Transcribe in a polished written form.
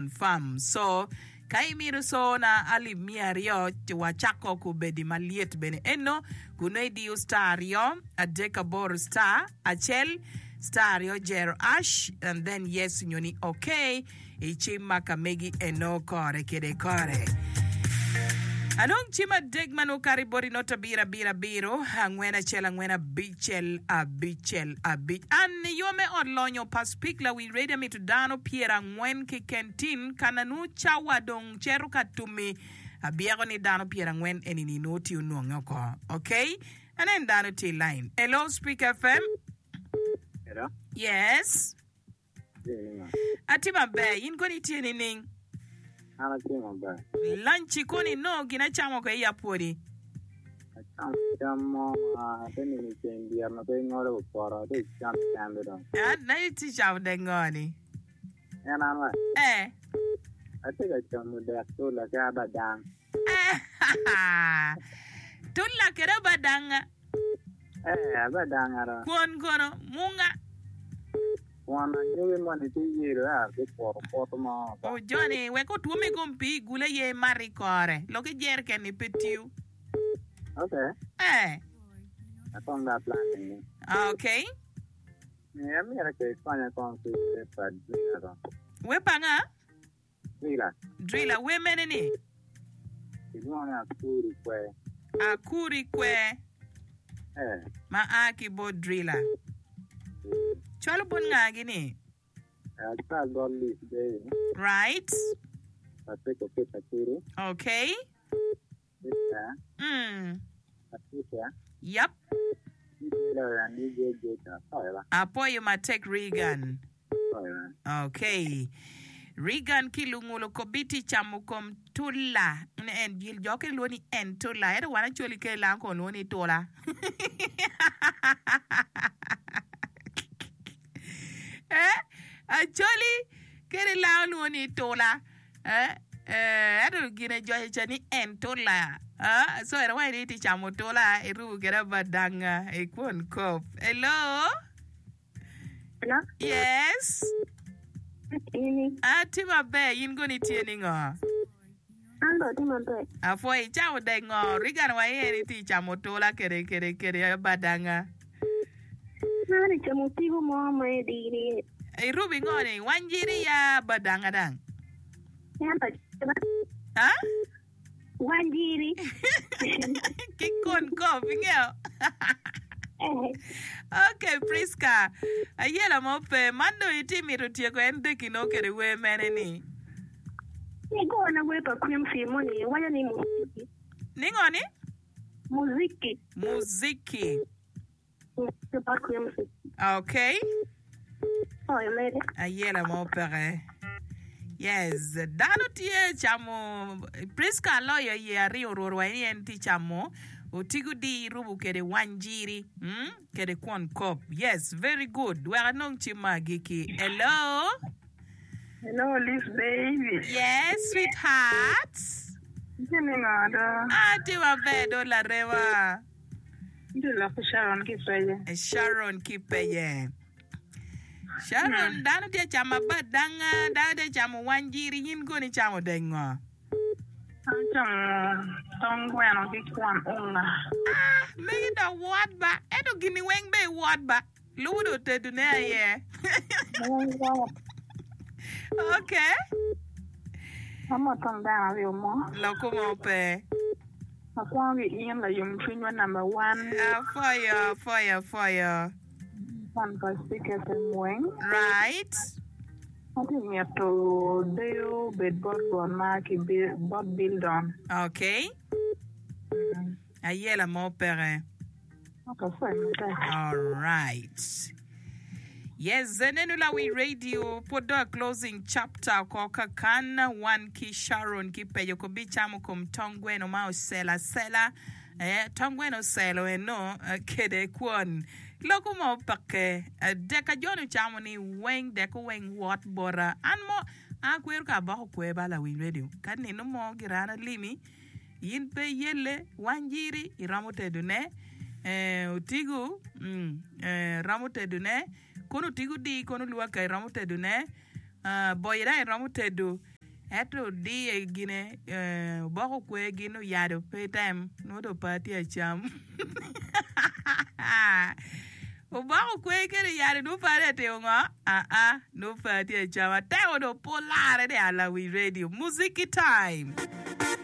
Confirm. So, ka imito cona alip miya aryo, ci wacako kubedi malyet bene eno, kun nongo idiyo star aryo, adek aboro star, acel, star aryo jero ash, and then yes nyo ni okay. I cim ma ka megi eno kore kede kore. Anong cim adek ma nongo kato i boti not abiro abiro abiro angwen acel angwen abicel abicel abic. An i yo me ot lonyo pa Spik Lawiny Radio amito dano pyerangwen keken tin kana nongo cawa dong cito ka tumi abyeko ni dano pyerangwen eni-ni nongo tye onwonge oko. Ok anen dano tye i line. Hello Spik FM. Hello. Yes. Atye maber, in kono itye nining? An atye maber. Lanci kono inongo gin acama oko i apwodi? Acamo cam mo ma ate nino i ceng dyere ma pe ingolo wi poto, ate camo kende dong. An aye itye camo dek ngo ni? En an wa? Eh. Atye ka camo dek tula ki abadang. Tula kede abadanga. Eh, abadanga do. Kwon kono, munga. Kwon anyogi moni tye yelo eh, abipwoto poto mo. O Johnny, wek otwom i kom pii igul aye imat i kore. Lok i jereken ni pe tiyo. Okay. Eh. Akong dong aplan ni. Okay. Eh, amyero ke ikonya kong ki wer pa Drila dong. Wer pa nga? Drila. Drila, wer mene ni? Kilwongo ni Akuri Kwer. Akuri Kwer. Eh. Ma a ki bot Drila. Cwalo bot ngagi ni? Acwal bot Liz Baby. Right. Patrick Okit Akuri. Okay. Victor. Mm. Patricia. Yep. DJ Lawyer and DJ Jacob. Apoyo ba. Apoyo matek Regan. Apoyo ba. Okay. Regan ki lungulo kobiti camo kom tula. Ne en jil jo kene lwongo ni en tula. Ento wan acoli kene lango kono lwongo ni tula. Eh? Acholi kene lango lwongo ni tula. Eh, eh, ento gine joce ca ni en tula. Ah, so en awaco ni itye camo tula, irubo kede abadanga i kwon kop. Hello? Hello? Yes? Ini. Atye maber, in kono itye ni ngo? An dong atye maber. Apwoyo, icamo dek ngo? Regan wa iye ni itye camo tula kede kede kede abadanga. An acamo tigo mo ma idiri. Irubo ingo ni? Wanjiri ya badanga dang. Ento aceba. Ha? Wanjiri. Ki kon kop ingeyo. Okay Prisca, ayela mo pe. Man dong itye mito tyeko en deki nongo kede wer mene ni? Igona wer pa Quincy moni waco ni muziki. Ni ngo ni? Muziki. Muziki. Bot Quincy. Okay. Oyo mede. Ayela mo peke. Yes, dano tye camo Prisca aloyo iye aryo rwot wa ni en tye camo otigo di rubo kede wanjiri mm? kede kwon kop. Yes, very good. Wek anong cim ma agikki. Hello. Hello, Liz baby. Yes, sweetheart. Itye ningo do? Ah, tye maber do larema. Itye lok ki Sharon ki peye. Sharon ki peye. Sharon, dano tye camo abadanga, dano tye camo wanjiri, in kono icamo dek ngo? Acamo tong gweno ki kwon unga. Ah, megi dok wot ba. Ento gini weng be iwot ba. Lubo dong tedone aye. Ok. Amo tong dano aryo mo. Loko mo pe. Akwongo ki in layom cwinywa number one. Apwoyo, apwoyo, apwoyo. Fan pa Speak FM weng. Right. Atye mito deyo obed bot Rwot ma ki bot Bildon. Okay. Ayela mo peke. Alright. Yes, nenu lawi radio pwod dong a closing chapter oko kakan wan ki Sharon ki pejo ko bicamo kom tong gweno ma oselo asela eh, tong gweno oselo eno eh, kede kwon loko mo peke eh, deka John ocamo ni weng deko weng wot bota an mo akwero ka aboko kwer ba lawiny radio ka nino mo girana limi In pe iyelle wanjiri iromo tedone eh, otigo mm, eh, romo tedone kono otigo di kono lwaka iromo tedone ah, boyi dang iromo tedo. Ento odiye gine obok okwe gin oyado pe item nongo dong pe atye acam. Obok okwe kede oyado nongo pe atye atimo ngo? Aa nongo pe atye acam. Atemo dong pe olarre ni alawi radio. Muziki time.